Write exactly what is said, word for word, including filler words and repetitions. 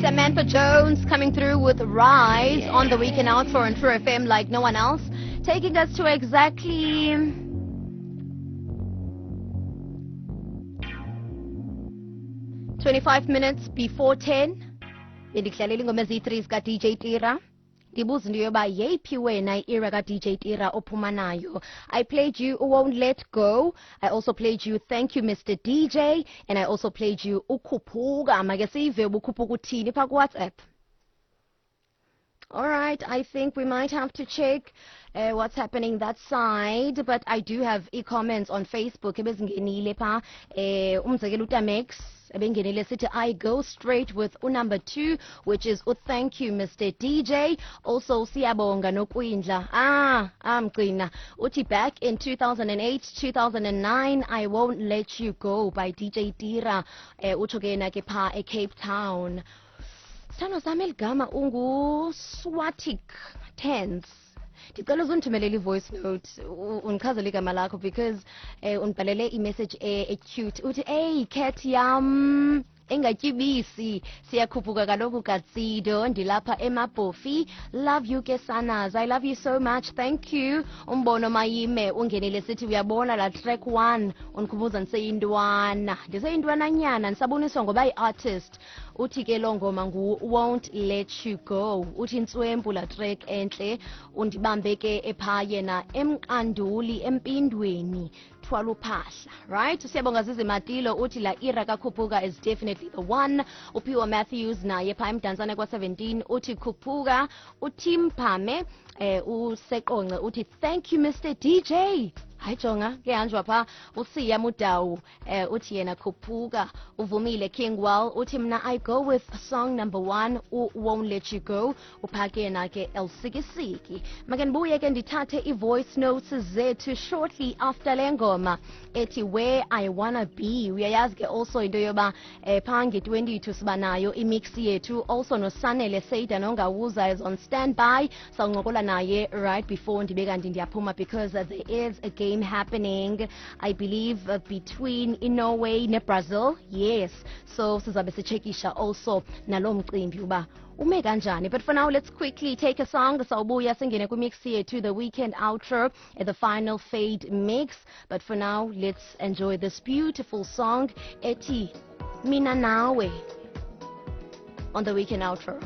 Samantha Jones coming through with Rise on the Weekend Outro on True F M like no one else, taking us to exactly twenty-five minutes before ten. Bendidlalela ingoma eziyi-three zika D J Tira. Ndibuza into yoba yeyiphi wena i-era ka-D J Tira ophuma nayo. I played you Won't Let Go. I also played you Thank You Mister D J. And I also played you Ukhuphuka. Make sive ubukhuphuka uthini pha ku-WhatsApp. All right, I think we might have to check, uh, what's happening that side, but I do have e-comments on Facebook. Ebezingenile pha, eh, umzekelo uTamex ebengenile sithi I go straight with number two, which is u thank you Mister D J. Also siyabonga nokwindla. Ah, amgcina. Uthi back in two thousand eight, two thousand nine, I Won't Let You Go by D J Tira. Eh, utsho ke yena ke pha e Cape Town. Sithando sami eligama ungu-Swatic Tense. Ndicela uzundithumelele i-voice note, u-, undichazele igama lakho because, eh, undibhalele i-message e-, e-cute. Uthi, hey, cat yam engatyibisi, siyakhuphuka kaloku katsido, ndilapha eMabhofi. Love you ke sanas, I love you so much, thank you. Umbono Mayime ungenile sithi uyabona la track one undikhumbuza ndiseyintwana, ndiseyintwananyana ndisaboniswa ngoba yi-artist. Uthi ke loo ngoma ngu Won't Let You Go. Uthi intswempu la track entle, undibambe ke epha yena emqanduli empindweni thwala uphahla. Right, siyabonga Zizi Matilo uthi la era kakhuphuka is definitely the one. Uphiwa Matthews naye pha emdantsane kwa seventeen uthi khuphuka. Utim Phame, eh, useqonce uthi thank you Mister D J. Hayi jonga kuyahanjwa pha. Usiya Mudawu, eh, uthi yena khuphuka. Uvumile King Well uthi mna I go with song number one u Won't Let You Go. Uphake yena ke Elsikisiki. Make ndibuye ke ndithathe i-voice notes zethu shortly after le ngoma ethi Where I Wanna Be. Uyayazi ke also into yoba, eh, pha nge-twenty-two siba nayo imix yethu. Also noSanele Seida nongawuza is on standby. Sawuncokola naye right before ndibe kanti ndiyaphuma because there is a game happening, I believe, uh, between Norway neBrazil. Yes, so sizabe sichekisha also nalo mcimbi uba ume kanjani. But for now, let's quickly take a song. Sawubuya singene kwimix yethu, the weekend outro at the final fade mix. But for now, let's enjoy this beautiful song ethi Mina Nawe on the weekend outro.